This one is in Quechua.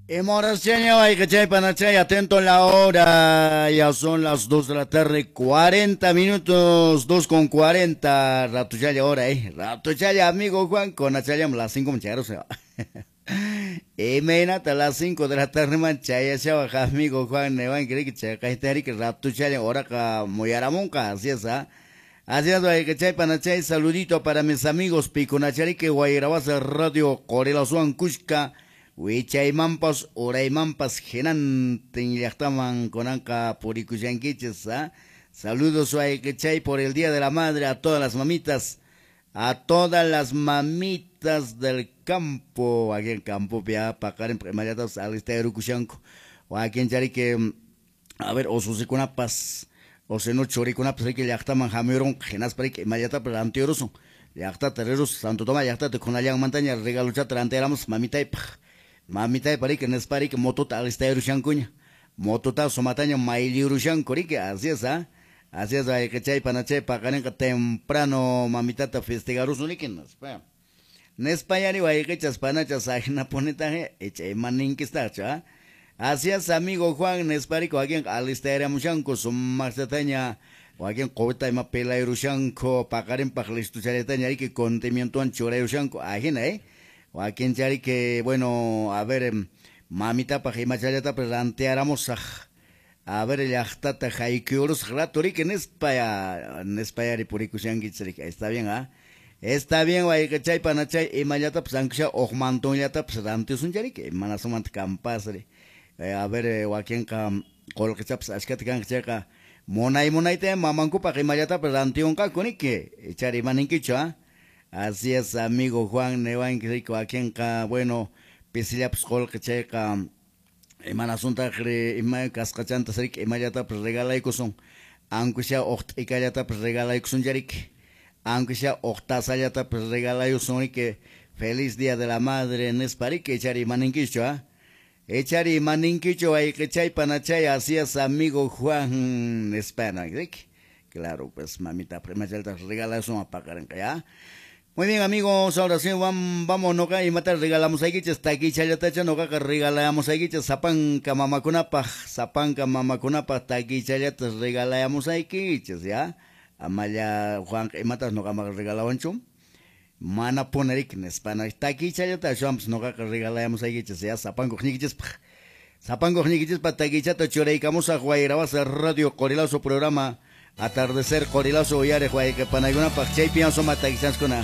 Emoraseña, chay panachay, atento a la hora. Ya son las 2 de la tarde, 40 minutos, 2:40. Ratuchaya hora, Ratuchaya, amigo Juan, con achayam las 5 muchachos. Imaynata las 5 de la tarde man chayashawa amigo Juan newan que chayqaytari ratuchaya horaqa muyaramunqa, así es, ¿ah? Así es, chay panachay, saludito para mis amigos Picunacharike, Guayrabaza Radio, Corelasuan, Kushka, Wichaymampas, Uraymampas, Hinantin llaqtaman kunanqa purikushankichis, ¿ah? Saludos, chay, por el Día de la Madre a todas las mamitas, a todas las mamitas del campo, aquí en campo, pia, paqarin, imallatas, alistayrukushanku, wakin charike, a ver, osusikunapas, o sino churikunapas, riki llaqtaman hamuyurunqa, hinaspa riki imallatapas rantiyurusun, llaqtata rirus, Santo Tomás llaqtata kunallanmantaña regaluchata rantiyaramus mamitaypaq. Mamitaypa riki nispa riki motota alistayurushankuña, motota sumataña mayliyurushanku riki, así es, ¿ah? Así es, chay panachay paqarinqa temprano mamitata festejarusun riki, nispa. Nispa yari wayqichas panachas ajinapunitaje, icha imaninkistaqchu, ¿ah? Así es, amigo Juan, nispa riki wakinqa alistayaramushanku sumaqllataña, wakin quwita ima pelayurushanku, paqarinpaq listuchallataña riki condimientowan churayurushanku, ajina, Wakin charike, bueno, a ver, mamitapaq imachallatapas rantearamusaq. A ver, llaqtata haykuyurusaq rato riki nispa ya, nispa yari purikushankichis riki. Está bien, ¿ah? Está bien, wayqichay panachay imallatapas aunque sea uq mantonllatapas rantiusun riki, mana sumanta kampas ri. A ver, wakinqa qullqichapas achkata kanqa chayqa munay munayta mamankupaq imallatapas rantiunqaku riki. Ichari imaninkichu, ¿ah? Así es, amigo Juan, newanki riki wakinqa, bueno, pisillapas qullqi chayqa imanasuntaqri ima kasqachantas riki imallatapas regalaykusun, aunque sea uq t'ikallatapas regalaykusun riki, aunque sea uq tasallatapas regalayusun riki, feliz día de la madre nispa riki, ichari imaninkichu, ¿ah? Ichari imaninkichu wayqichay panachay, así es, amigo Juan, nispa riki. Claro, pues mamita imallatapas regalayusun paqarinqa, ¿ya? Muy bien, amigos, ahora sí, vamos, noqa imata regalamos aykichis, takichallatacha noqaqa regalamos aykichis, sapanka mamakunapaq, sapanka mamakunapaq takichallata regalamos aykichis, ¿ya? Amalla Juan imatas noqamaq regalawanchu, mana ponerik nispa, takichallata ashwanpas noqaqa regalamos aykichis, ¿ya? Sapankuq ñikichispaq, sapankuq ñikichispaq takichata churaykamusaq Guayrabaza Radio Qorilazo programa Atardecer Qorilazo uyariq wayqipanaykunapaq, chaypi suma takichanskuna.